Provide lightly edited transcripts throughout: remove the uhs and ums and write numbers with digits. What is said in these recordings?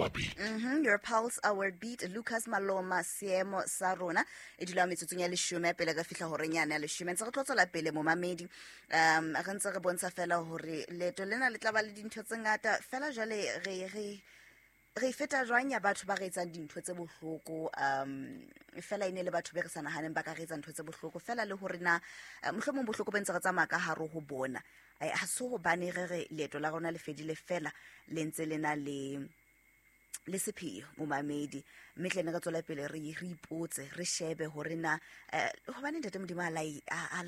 our beat. Your pulse, our beat. Lucas Maloma, seemo sa rona e dula metsotsong ya leshome pele ka fihla horeng yane ya leshome. Ntse re tlo tswela pele, momamedi. Re ntse re bontsha fela hore leeto lena le tla ba le dintho tse ngata fela. Jwale re feta jwang ya batho ba re etsang dintho tse bohloko, fela e ne le batho be re sa nahaneng ba ka re etsa ntho tse bohloko fela, le hore na mohlomong bohloko bo ntse re tsamaya ka hare ho bona, ha se hobane re re leeto la rona le fedile, fela le ntse le na le sepheo, momamedi. Mme tlene re tswela pele re ipotse, re shebe hore na hobane ntate Modimo a la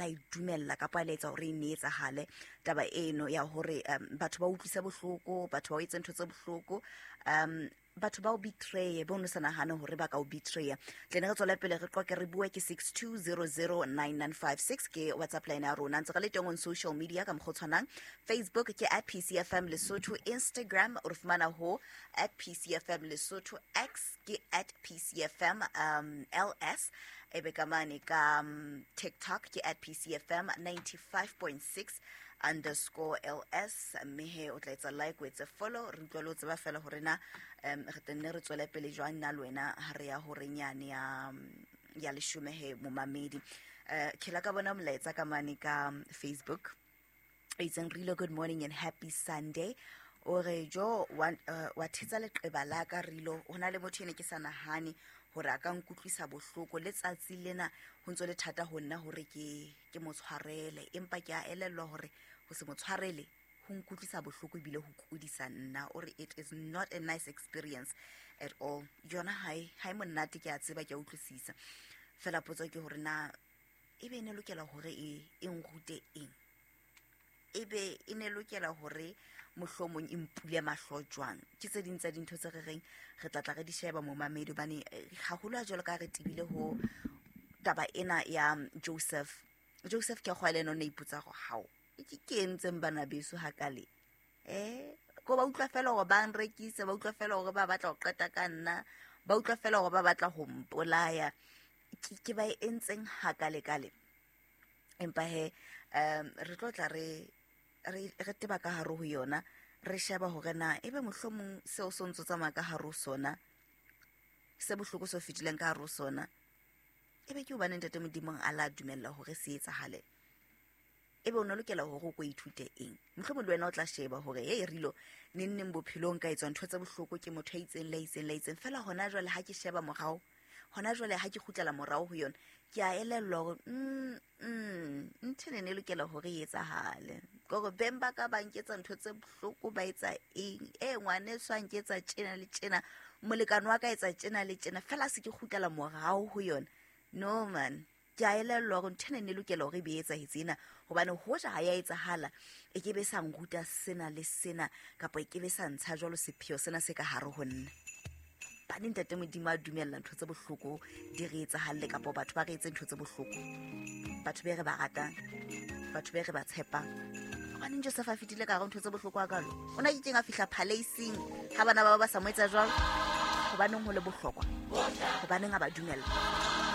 e dumella kapa a la etsa hore e ne etsahale taba eno ya hore batho ba utlwise bohloko, batho ba o etse ntho tse bohloko, batho ba o betray, bo no sa nahane hore ba ka o betraya. Tlene re tswela pele re qoke, re bue. Ke 62009956 ke WhatsApp line ya rona. Ntse re le teng on social media ka mokgwa o tshwanang. Facebook ke @PCFM Lesotho, Instagram o re fumana ho @PCFM Lesotho, X ke @PCFM LS, ebe ka mane ka TikTok ke @PCFM 95.6_LS. Mme he o tla etsa like, o etse follow, re utlwa le o tseba fela hore na re tenne re tswele pele jwang nna le wena ha re ya horeng yane ya leshome. He momamedi, ke la ka bona molaetsa ka mane ka Facebook e itseng, "Rilo, good morning and happy Sunday." O re, "Jo wa thetsa leqeba la ka, Rilo. Ho na le motho ene ke sa nahane hore a ka nkutlwisa bohloko. Le tsatsi lena ho ntso le thata ho nna hore ke mo tshwarele, empa ke a elellwa hore ho se mo tshwarele ho nkutlwisa bohloko ebile ho kudisa nna." O re, "It is not a nice experience at all." Yona ha e monate, ke a tseba, ke a utlwisisa. Fela potso ke hore na ebe e ne lokela hore e nrute eng, ebe e ne lokela hore mohlomong e mpule mahlo jwang? Ke tse ding tsa dintho tse re reng re tla tla re di sheba, momamedi, hobane haholo ha jwalo ka re tebile ho taba ena ya Joseph. Joseph ke kgwa le ena o ne ipotsa gore hao ke entseng bana beso hakale, ko ba utlwa fela hore ba nrekise, ba utlwa fela hore ba batla ho qeta ka nna, ba utlwa fela hore ba batla ho mpolaya, ke ba e entseng hakale-kale? Empa he re tlo tla re teba ka hare ho yona, re sheba hore na ebe mohlomong seo se ntso tsamaya ka hare ho sona, se bohloko se fetileng ka hare ho sona, ebe ke hobane ntate Modimong a la dumella hore se etsahale, ebe o ne lokela hore o ko ithute eng? Mohlomong le wena o tla sheba hore hey Rilo, neng neng bophelong ka etswa ntho tse bohloko ke motho a itseng le a itseng le a itseng, fela hona jwale ha ke sheba morao, hona jwale ha ke kgutlela morao ho yona, ke a elellwa hore ntho ene ne e lokela hore e etsahale, kore beng ba ka ba nketsa ntho tse bohloko, ba etsa eng, e ngwaneso a nketsa tjena le tjena, molekane wa ka etsa tjena le tjena, fela se ke kgutlela morao ho yona, no man, ke a elellwa hore ntho ena e ne lokela hore e be e etsahetse ena, hobane hoja ha ya etsahala e ke be sa nruta sena le sena, kapa e ke be sa ntsha jwalo sepheo sena se ka hare ho nna. Bane ntate Modimo a dumella ntho tse bohloko di re etsahalle, kapa batho ba re etse ntho tse bohloko, batho be re ba ratang, batho be re ba tshepang, gobaneng Joseph a fetile ka gare ntho tse bohloko a kalo? O na kekeng a fihla palaceing ga bana ba ba sa mo etsa jwalo. Gobaneng go le bohlokwa? Gobaneng a ba dumella?